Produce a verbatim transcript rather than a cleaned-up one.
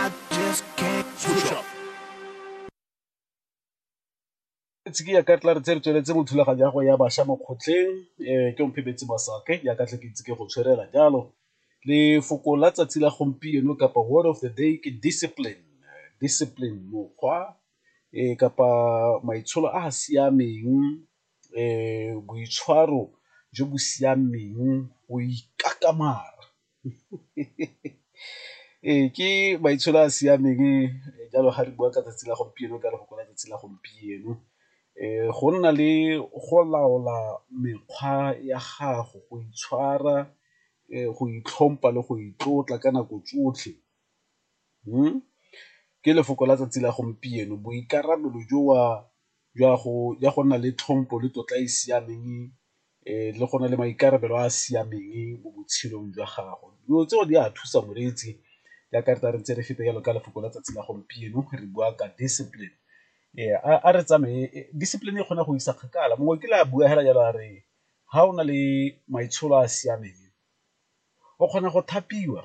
I just can't switch up. Ke ya ka tla re tse re tsweletse mo thulaganyo ya go ya bašwa mo kgotleng, ke Omphemetse Masake jaaka tle ke ntse ke go tshwarela jalo. Lefoko la tsatsi la gompieno kapa word of the day ke discipline, discipline mokgwa kapa maitsholo a a siameng, boitshwaro jo bo siameng, go ikakamara. Ee, ke maitsholo a a siameng jalo ga re bua ka tsatsi la gompieno ka lefoko la tsatsi la gompieno. Go nna le go laola mekgwa ya gago, go itshwara, go itlhompha le go itlotla ka nako tsotlhe ke lefoko la tsatsi la gompieno, boikarabelo jo jwa go nna le tlhompho le tlotla e e siameng le go na le maikarabelo a a siameng mo botshelong jwa gago. Dilo tseo di a thusa moreetsi jaaka re tla re ntse re feta jalo ka lefoko la tsatsi la gompieno re bua ka discipline. A re tsamaye, discipline e kgona go isa kgakala mongwe o kile a bua fela jalo a re ga o na le maitsholo a a siameng o kgona go thapiwa.